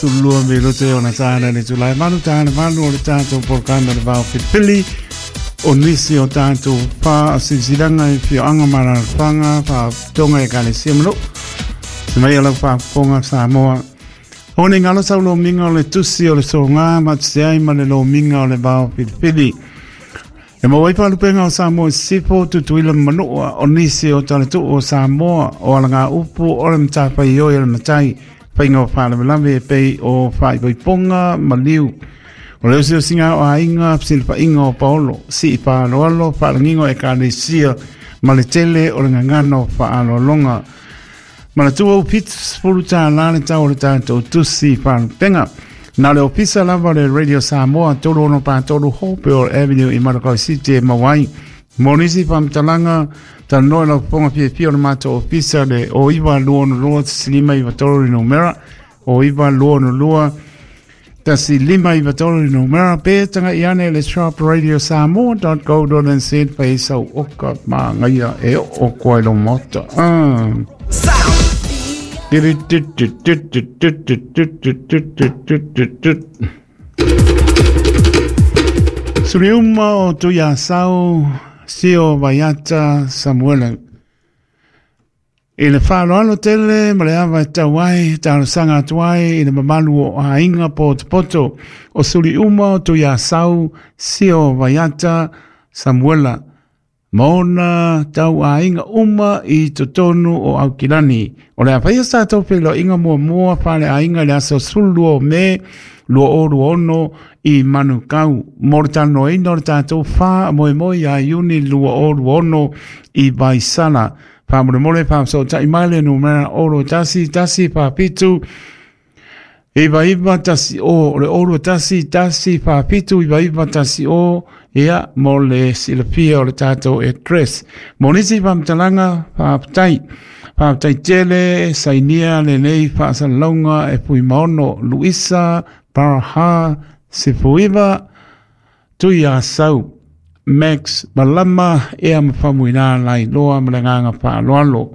12 minute ona tāna le tulai malu tāna malu o le tātou polokana le vao filifili o nisi o tātou pā o silasilaga i fioaga ma alalafaga faapotoga e ekalesia ma nuu. Se mai lau faafofoga Samoa. O nei galo sau lomiga o le tusi o le sogā ma te ai ma le lomiga o le vao filifili. E maua ai faalupega o Samoa i Sisifo, Tutuila ma Manua, o nisi o talatuu o Samoa, o alagaupu o le matafaioi a le matai, faiga o faalavelave e pei o faaipoipoga ma liu. O le osiosiga o aiga, fesilafaiga o paolo, sii faaaloalo, faalagiga o ekalesia ma le tele o le gagana o faaaloaloga. Manatua ua $70 le tau o le tatou tusi faalupega. Na o le ofisa lava o le Radio Samoa 3643 Hopewell Avenue i Manukau City e maua ai. Mo nisi faamatalaga, talanoa i lau fofoga fiafia o le matou ofisa le o 9262 1593 le numera, o 9262 1593 le numera, pe tagai ane i le shop radiosamoa.co.nz fai sau oka māngaia e oo koa i lo maota. Ah. Suriuma o Tuiasau, Sio Vaiata Samuele. I le faaaloalo tele ma le ava e tau ai, talosaga atu ai i le mamalu o aiga potopoto o Suliuma o Tuiasau, Sio Vaiata Samuela, ma ona tauaiga uma i totonu o Aukilani. O le a faia sa tatou feiloaiga muamua faaleaiga i le aso 12 o Me 2026 i Manukau mo le talanoaina o le tatou faamoemoe ia Iuni 2026 i Vaisala. Faamolemole faafesootai mai le numera 0 1 1 4 7 9 9 1 o le 0 1 1 4 7 9 9 1 o ia mo le silafia o le tatou address. Mo nisi faamatalaga, faafetai. Faafetai tele sainia lenei faasalalauga e Fuimaono Luisa Paraha Sefuiva Tuiasau Max Malama ea ma Faumuina Lailoa ma le agaga faaaloalo.